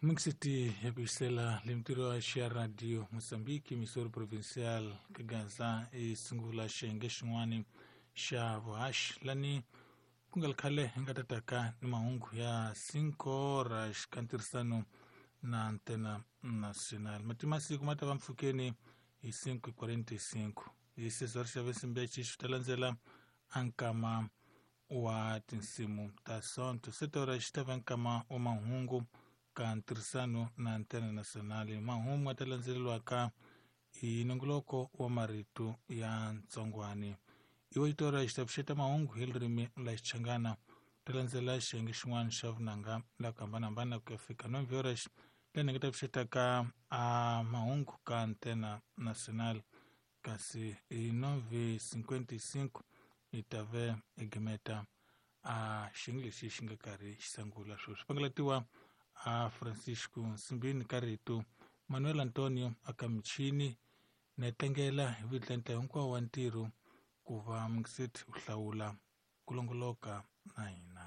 Mixiti ya ku yisela lemtirho wa xa radio Mozambique Missouri Provincial ka Gaza i sungula xiyenge xin'wana xa vuhaxi lani ku nga ri khale hi nga tataka ni mahungu ya 5 horas ka ntirhisano na Antena Nacional. Matimasiku ma ta va mpfhukeni hi 5:45 hi 6 horas xa vesimbe xi ta landzela ankama wa tinsimu ta sonto. 7 horas xi ta va nkama wa mahungu ka ntirhisano na Antena Nacional. Mahungu ma ta landzeleriwaka hi nongoloko wa marito ya ntsongwani. Iwe xitora xi ta pfuxeta mahungu hi ririmi la Xichangana, ta landzela xiyenge xin'wana xa vunanga la ku hambanahambana ku ya fika 9 horas lani nga ta pfuxetaka a mahungu ka Antena Nacional, kasi hi 9:55 hi ta ve hi gimeta a xiyenge lexi xi nga karhi xi sungula sweswi. Pangalatiwa a Francisco Nsimbini ka rito, Manuel Antonio aka michini na tlangela hi vutlantla hinkwawo wa ntirho ku va Mxit u hlawula ku longoloka na hina.